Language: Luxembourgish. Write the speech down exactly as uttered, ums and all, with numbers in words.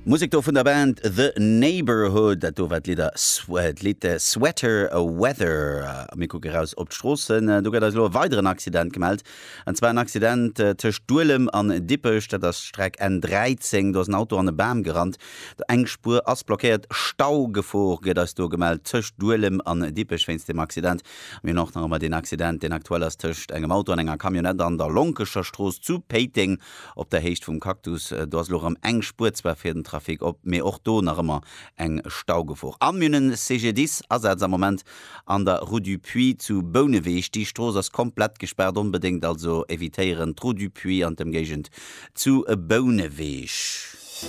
Musek do vun der Band The Neighbourhood, dat do war d'Lidder d'Lidd Sweater Weather. A mir kucke raus op d'Stroossen. Do gëtt eis elo e weideren Accident gemellt. An zwar en Accident tëscht Duelem an Dippech, dat ass d'Streck N dräizéng. Do ass en Auto an e Bam gerannt. Eng Spuer ass blockéiert. Staugefor gëtt eis do gemellt tëscht Duelem an Dippech wéinst deem Accident. Mir hunn och nach ëmmer deen Accident, deen aktuell ass tëscht engem Auto an enger Camionnette an der Lonkecher Strooss zu Péiteng op der Héicht vum Cactus. Do ass elo erëm eng Spuer zwar fir den Trafic op, mee och do nach ëmmer eng Staugefor. An mir hunn en C G D I S-Asaz am Moment an der Rue du Puits zu Bouneweg. Déi Strooss ass komplett gespaart, onbedéngt also evitéieren d'Rue du Puits an d'Ëmgéigend zu Bouneweg.